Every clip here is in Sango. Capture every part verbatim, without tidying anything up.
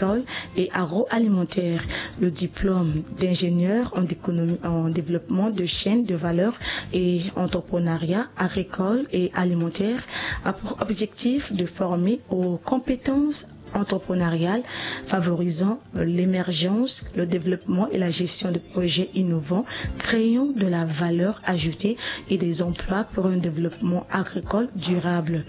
agricole et agroalimentaire. Le diplôme d'ingénieur en économie, en développement de chaînes de valeur et entrepreneuriat agricole et alimentaire a pour objectif de former aux compétences entrepreneuriales favorisant l'émergence, le développement et la gestion de projets innovants, créant de la valeur ajoutée et des emplois pour un développement agricole durable.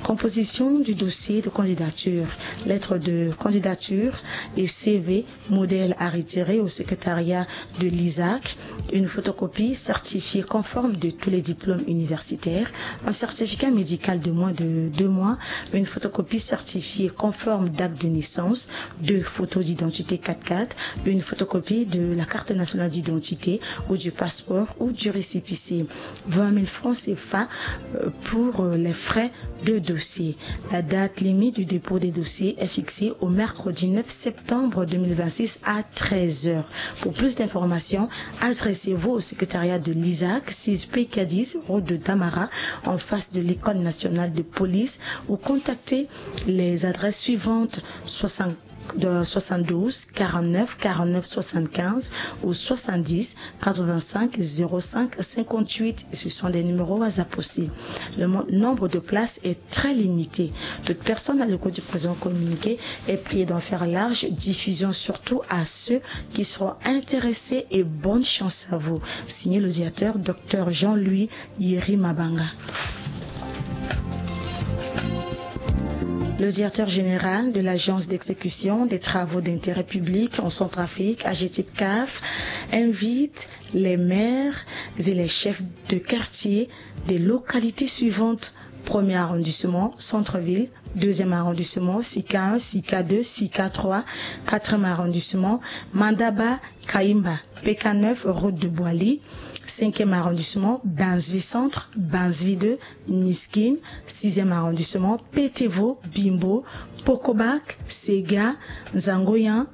Composition du dossier de candidature. Lettre de candidature et C V modèle à retirer au secrétariat de l'ISAC. Une photocopie certifiée conforme de tous les diplômes universitaires. Un certificat médical de moins de deux mois. Une photocopie certifiée conforme d'acte de naissance. Deux photos d'identité quatre quatre. Une photocopie de la carte nationale d'identité ou du passeport ou du récépissé. Vingt mille francs C F A, euh, pour, euh, les frais de dossier. La date limite du dépôt des dossiers est fixée au mercredi neuf septembre deux mille vingt-six à treize heures. Pour plus d'informations, adressez-vous au secrétariat de l'ISAC, six P K dix, route de Damara, en face de l'école nationale de police, ou contactez les adresses suivantes, soixante, de soixante-douze, quarante-neuf, quarante-neuf, soixante-quinze ou soixante-dix, quatre-vingt-cinq, zéro cinq, cinquante-huit. Ce sont des numéros WhatsApp aussi. Le mo-, nombre de places est très limité. Toute personne à l'écoute du présent communiqué est priée d'en faire large diffusion, surtout à ceux qui seront intéressés, et bonne chance à vous. Signé le directeur, docteur Jean-Louis Yeri Mabanga. Le directeur général de l'Agence d'exécution des travaux d'intérêt public en Centrafrique, AGETIP-CAF, invite les maires et les chefs de quartier des localités suivantes: premier arrondissement, centre-ville, deuxième arrondissement, SICA un, SICA deux, SICA trois, quatrième arrondissement, Mandaba, Kaimba, P K neuf, route de Boali, cinquième arrondissement, Bansvi Centre, Bansvi deux, Miskin, sixième arrondissement, Petevo, Bimbo, Pokobak, Sega, Zangoyan,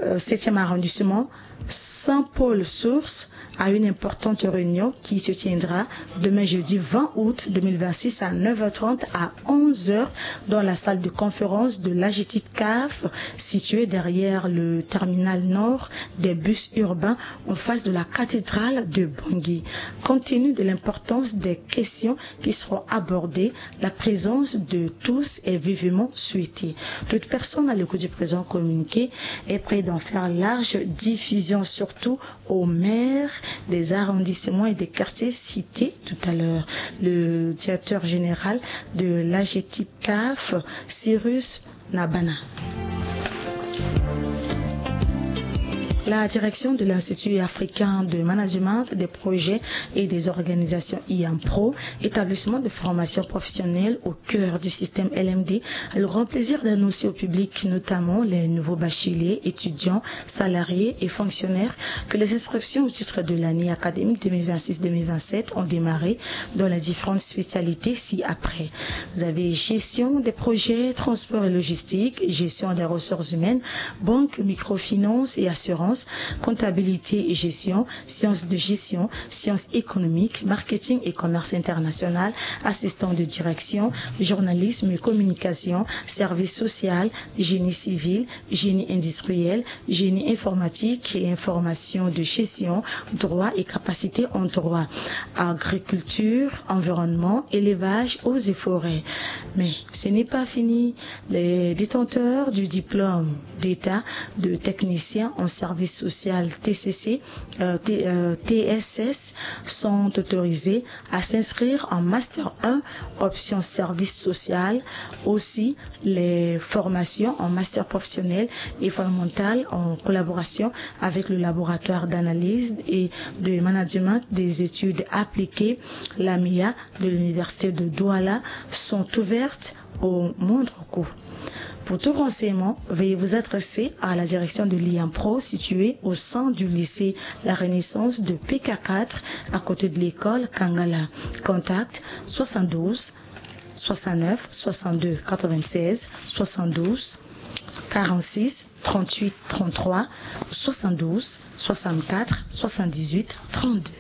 euh, septième arrondissement, Saint-Paul-Source, à une importante réunion qui se tiendra demain jeudi vingt août deux mille vingt-six à neuf heures trente à onze heures dans la salle de conférence de l'AGETIP-CAF, située derrière le terminal nord des bus urbains en face de la cathédrale de Bangui. Compte tenu de l'importance des questions qui seront abordées, la présence de tous est vivement souhaitée. Toute personne à l'écoute du présent communiqué est prête d'en faire large diffusion, surtout aux maires des arrondissements et des quartiers cités tout à l'heure. Le directeur général de l'AGETIP-CAF, Cyrus Nabana. La direction de l'Institut africain de management des projets et des organisations, IAMPRO, établissement de formation professionnelle au cœur du système L M D, a le grand plaisir d'annoncer au public, notamment les nouveaux bacheliers, étudiants, salariés et fonctionnaires, que les inscriptions au titre de l'année académique deux mille vingt-six deux mille vingt-sept ont démarré dans les différentes spécialités ci-après. Vous avez gestion des projets, transport et logistique, gestion des ressources humaines, banque, microfinance et assurance, comptabilité et gestion, sciences de gestion, sciences économiques, marketing et commerce international, assistant de direction, journalisme et communication, service social, génie civil, génie industriel, génie informatique et information de gestion, droit et capacité en droit, agriculture, environnement, élevage, eaux et forêts. Mais ce n'est pas fini. Les détenteurs du diplôme d'État de technicien en service social, T C C, euh, T-, euh, T S S, sont autorisés à s'inscrire en Master un, option service social. Aussi, les formations en Master professionnel et fondamental en collaboration avec le laboratoire d'analyse et de management des études appliquées, l'AMIA, de l'université de Douala sont ouvertes au moindre coût. Pour tout renseignement, veuillez vous adresser à la direction de l'IAMPRO, située au sein du lycée La Renaissance de P K quatre, à côté de l'école Kangala. Contact soixante-douze, soixante-neuf, soixante-deux, quatre-vingt-seize, soixante-douze, quarante-six, trente-huit, trente-trois, soixante-douze, soixante-quatre, soixante-dix-huit, trente-deux.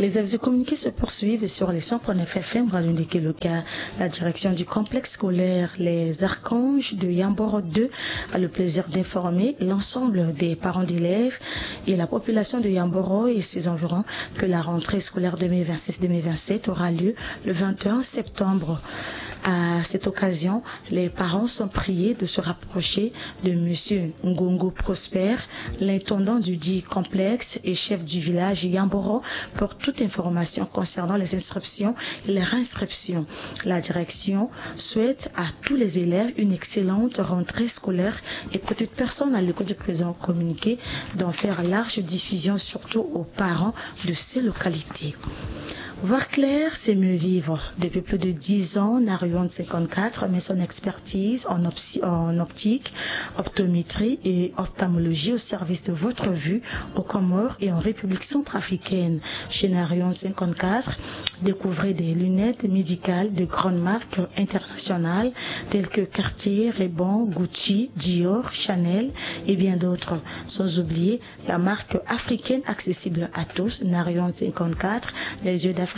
Les avis et communiqués se poursuivent sur les cent point neuf F M Radio Ndeke Loka. La direction du complexe scolaire Les Archanges de Yamboro deux a le plaisir d'informer l'ensemble des parents d'élèves et la population de Yamboro et ses environs que la rentrée scolaire deux mille vingt-six deux mille vingt-sept aura lieu le vingt et un septembre. À cette occasion, les parents sont priés de se rapprocher de monsieur Ngongo Prosper, l'intendant du dit complexe et chef du village Yamboro, pour toute information concernant les inscriptions et les réinscriptions. La direction souhaite à tous les élèves une excellente rentrée scolaire et que toute personne à l'écoute du présent communiqué d'en faire large diffusion, surtout aux parents de ces localités. Voir clair, c'est mieux vivre. Depuis plus de dix ans, Narion cinquante-quatre met son expertise en opti-, en optique, optométrie et ophtalmologie au service de votre vue aux Comores et en République centrafricaine. Chez Narion cinquante-quatre, découvrez des lunettes médicales de grandes marques internationales telles que Cartier, Ray-Ban, Gucci, Dior, Chanel et bien d'autres. Sans oublier la marque africaine accessible à tous, Narion cinquante-quatre, les yeux d'Afrique.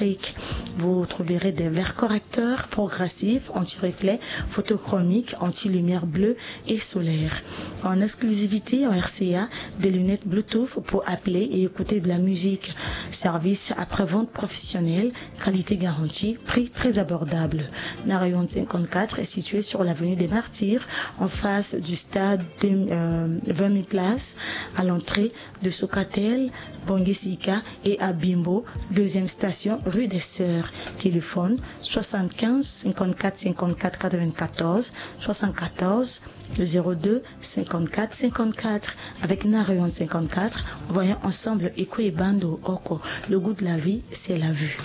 Vous trouverez des verres correcteurs progressifs, anti-reflet, photochromique, anti-lumière bleue et solaire. En exclusivité en R C A, des lunettes Bluetooth pour appeler et écouter de la musique. Service après-vente professionnel, qualité garantie, prix très abordable. Narion cinquante-quatre est situé sur l'avenue des Martyrs, en face du stade de, euh, vingt mille places, à l'entrée de Socatel, Bangui Sika et à Bimbo, deuxième station, rue des Sœurs. Téléphone soixante-quinze cinquante-quatre cinquante-quatre quatre-vingt-quatorze, soixante-quatorze zéro deux cinquante-quatre cinquante-quatre. Avec Narion cinquante-quatre, voyons ensemble Eko Ebando Oko. Le goût de la vie, c'est la vue.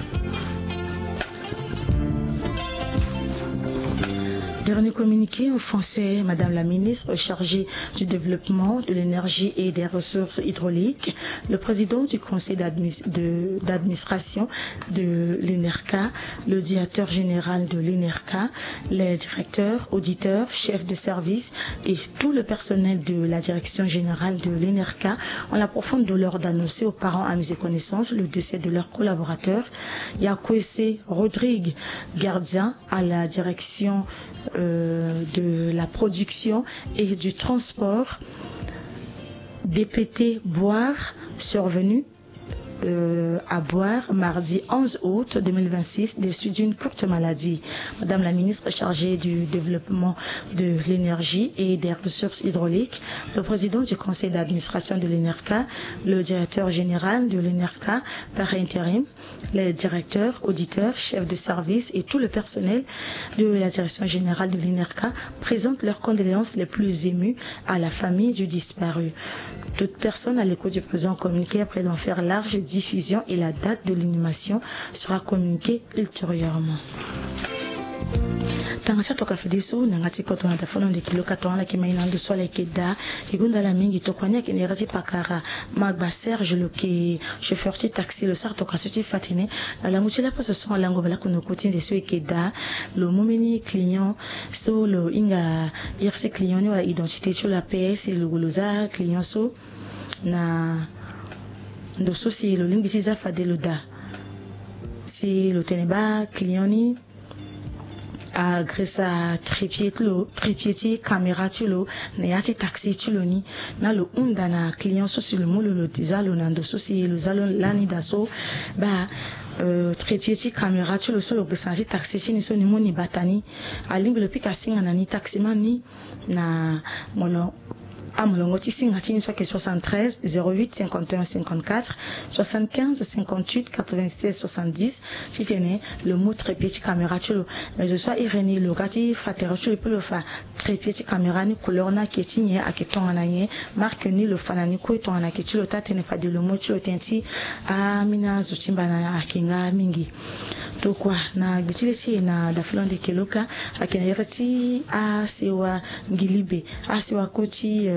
Dernier communiqué en français, Madame la ministre chargée du développement, de l'énergie et des ressources hydrauliques, le président du conseil d'admi-, de, d'administration de l'ENERCA, le directeur général de l'ENERCA, les directeurs, auditeurs, chefs de service et tout le personnel de la direction générale de l'ENERCA ont la profonde douleur d'annoncer aux parents amis et connaissances le décès de leur collaborateur, Yakwese Rodrigue, gardien à la direction, euh, de la production et du transport, D P T Boire, survenu, euh, à Boire, mardi onze août deux mille vingt-six, des suites d'une courte maladie. Madame la ministre chargée du développement de l'énergie et des ressources hydrauliques, le président du conseil d'administration de l'ENERCA, le directeur général de l'ENERCA par intérim, les directeurs, auditeurs, chefs de service et tout le personnel de la direction générale de l'ENERCA présentent leurs condoléances les plus émues à la famille du disparu. Toute personne à l'écoute du présent communiqué après d'en faire large diffusion et la date de l'inhumation sera communiquée ultérieurement. Tanga sa toka fede so na nga ti koto na tafono ndeke lo ka tongana la ke mai na ndo so ala yeke daa. E gonda la mingi tokua ni ayeke na iri ti pakara Magba Serge lo yeke chauffeur ti taxi, lo sara tokua so ti fa tene na lango ti laposo so alango baleoko na oko ti nze so e yeke daa. Lo mu mbeni client so lo hinga iri ti client ni wala identité ti lo ape si lo, lo za client so na ndo so si lo lingbi ti za fade lo daa. Si lo tene baa client ni agressa trépied ti lo, trépied ti caméra ti lo na ya ti taxi ti lo ni. Na lo hunda na client so si lo mu lo, lo za lo na ndo so si lo za lo lani daa so baa, euh, trépied ti caméra ti lo so lo gressa na ya ti taxi ti ni so ni mu ni bata ni. Alingbi lo pika singa na ni taximan ni na molongo amolongo ti singa ti ni so ayeke soixante-treize zéro huit cinquante et un cinquante-quatre, soixante-quinze cinquante-huit quatre-vingt-seize soixante-dix. Titene lo mu trépied ti caméra ti lo. Mais zo so airi ni lo ga ti fa tere ti lo pe lo fa trépied ti caméra ni, couleur ni ayeke ti nyen, ayeke tongana nyen, marque ni lo fa na ni kue tongana ayeke ti lo taa tënë fade lo mu ti lo tënë ti ambeni azo ti mbana ayeke nga mingi. Tokua na gbe ti le ti e na dafolande keloka, ayeke na iri ti asewa ngilibe, asewa koti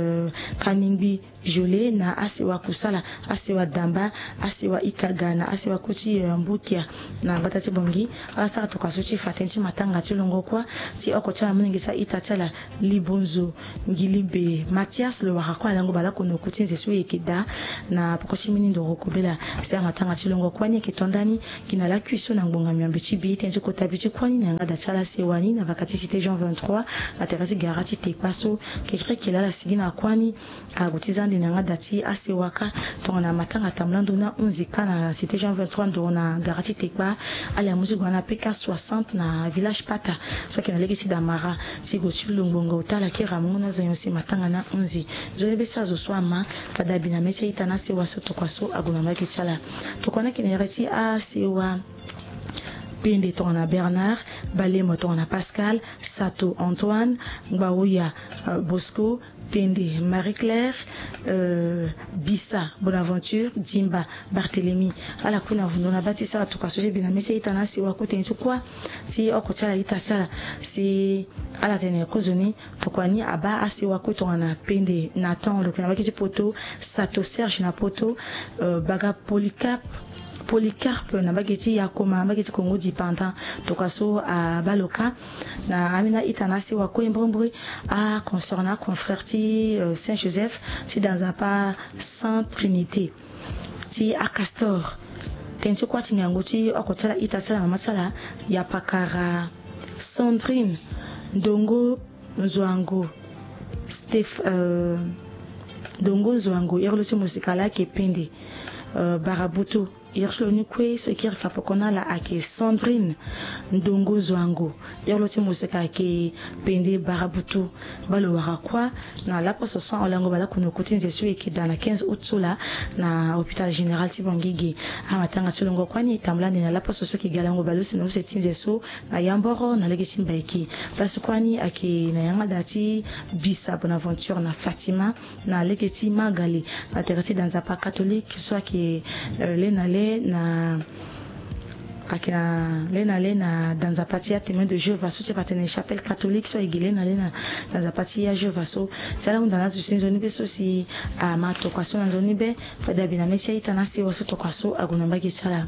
kaningbi jole na asewa kusala, asewa damba, asewa ikaga na asewa koti mbukia. Na gbata ti bongi ala sara tokua so ti fa tënë ti matanga ti longo kuâ ti oko ti ala molenge ti a-ita ti ala, libonzo ngilibe Mathias, lo wara kue na lango baleoko na oku ti nze so e yeke daa na poko ti mbeni ndoro kobela. Si amatanga ti longo kuâ ni ayeke to ndani gi na lakui so na ngbonga miombe ti bi tënë ti kota bi ti kuâ ni na yanga da ti ala sewa ni na vaka ti cité Jean vingt-trois na tere ti gara ti tekpa so. Kekereke laa ala sigi na kuâ ni ague ti za ande na yanga da ti asewa kâ. Tongana matanga tambula ndo na onze kâ na cité Jean vingt-trois ndoro na gara ti tekpa. Ala mu ti gue na peka soixante na village Pata so ayeke na lege ti Damara ti gue ti lo ngbonga ota ala kiri amungo na azo nyon si matanga na onze. Nzoni be si azo so ama fade abi na mê ti a-ita na asewa so tokua so ague na mbage ti ala. Tokua ni ayeke na iri ti asewa pende tongana Bernard, balemo tongana Pascal, Sato Antoine, Ngbaoya Bosco, pende Marie-Claire, Bisa Bonaventure, Dimba Barthélemy. Ala kue na vundo na bâ ti sara tokua so ti bi na mê ti a-ita na asewa kue tënë ti kuâ ti oko ti ala ita ti ala. Si ala tene kozoni tokua ni abâ asewa kue tongana pende Nathan lo yeke na mbage ti Poto, Sato Serge na Poto, Baga Polycarpe, Polycarpe na mbage ti Yakoma, mbage ti Congo du Pendant. Tokua so abâ lo kâ na ambeni a-ita na asewa kue mbrimbri, aconsoeur na aconfrère ti Saint Joseph ti da nzapa Sainte Trinité ti aCastor. Tënë ti kuâ ti ngangu ti oko ti ala ita ti ala mama ti ala, ya pakara Sandrine Ndongo Nzoango, Steph, Ndongo Nzoango, iri lo ti mosika laa ayeke pende Barabutu. Iri ti lo ni kue so e kiri fa poko na ala ayeke Sandrine Ndongo Nzoango, iri lo ti mosika ayeke pende Barabutu. Baa lo wara kuâ na laposo so ahon lango baleoko na oku ti nze so e yeke daa na quinze août so laa na hôpital général ti Bangui ge. Amatanga ti longo kuâ ni e tambula ande na laposo so e yeke ga lango baleuse na use ti nze so na Yamboro na lege ti Mbaïki. Place kuâ ni ayeke na yanga da ti Bisa Bonaventure na Fatima na lege ti Magale na tere ti da nzapa catholique so ayeke le na le na ayeke na le na le na da nzapa ti aTémoin de Jéhovah so ti fa atene chapelle catholique so ayeke le na le na da nzapa ti aJéhovah so. Si ala hunda na azo si nzoni be so si ama tokua so na nzoni be fade abi na mê ti a-ita na asewa so tokua so ague na mbage ti ala.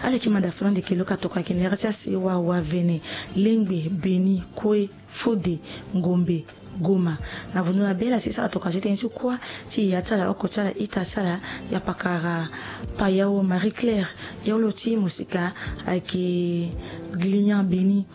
Ala yeke manda folande keloka tokua ayeke na iri ti asewa Wavene, Lengbe, Beni, Koe, Fode, Ngombe, Goma. Na vundo na be ala ti sara tokua so ti tënë ti kuâ ti yaya ti ala, oko ti ala, ita ti ala, ya pakara Payao Marie Claire, iri lo ti mosika ayeke Glian Beni.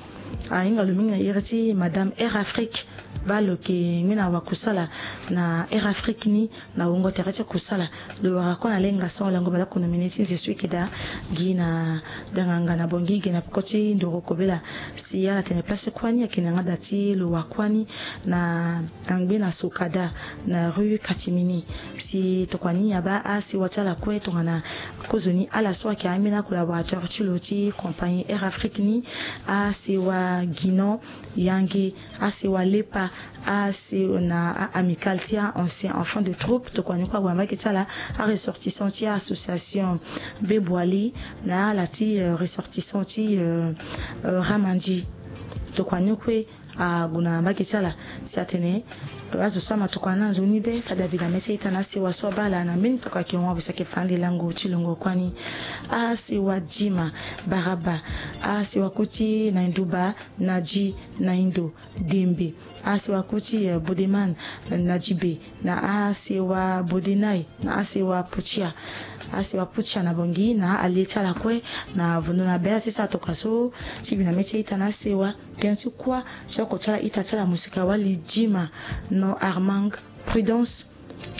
Ahinga lo mingi na iri ti Madame Air Afrique. Baa lo yeke ngbene wakusala na Air Afrique ni na wungo tere ti kusala. Lo wara kue na lenga so lango baleoko na mene ti nze so e yeke daa gi na danganga na Bangui ge na peko ti ndoro kobela. Si ala tene place kuâ ni ayeke na yanga da ti lo wa kuâ ni na angbe na Sokada na rue Catimini. Si tokua ni abaa asewa ti ala kue tongana kozoni ala so ayeke ambeni acollaborateur ti lo ti compagnie Air Afrique ni, asewa Guinon, Yangui, asewa Lepa, asewa na a-Amicale ti a-ancien enfant de troupe. Tokua ni kue ague na mbage ti ala, aressortissant ti association Beboali na ala ti ressortissant ti Ramandi. Tokua ni kue ague na mbage ti ala si atene azo so ama tokua na nzoni be fade abi na mê ti a-ita na asewa so abaa ala na mbeni tokua ayeke hon awe si ayeke fa ande lango ti longo kuâ ni. Asewa Dima, Baraba, asewa kue ti Nainduba, Nadi, Naindo, Dembe, asewa kue ti Bodeman, Nadibe, na asewa Bodenai, na asewa Putia, asewa Putia na Bangui na alie ti ala kue. Na vundo na be ala ti sara tokua so ti bi na mê ti a-ita na asewa. Tënë ti kuâ ti oko ti ala ita ti ala mosika wali Dima, non Armand Prudence.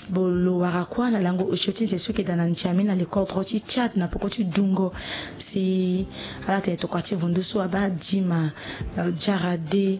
Bo lo wara kuâ na lango osio ti nze so e yeke daa na N'Djamena, le cordro ti Tchad na peko ti dungo. Si ala tene tokua ti vundu so abaa Dima, Diarade,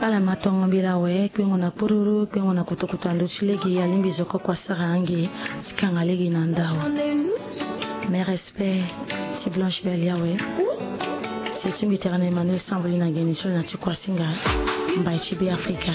Ala ma tongo mbela awe kpengo na kpururu kpengo na kutukutu ando ti lege alingbi zoko kua sara ange. Ti kanga lege na ndao. Mes respects ti Blanche Belle awe. Si ti mbi tera na Emmanuel Samboli na geni ti lo na ti kuasinga. Mbai ti be Afrika.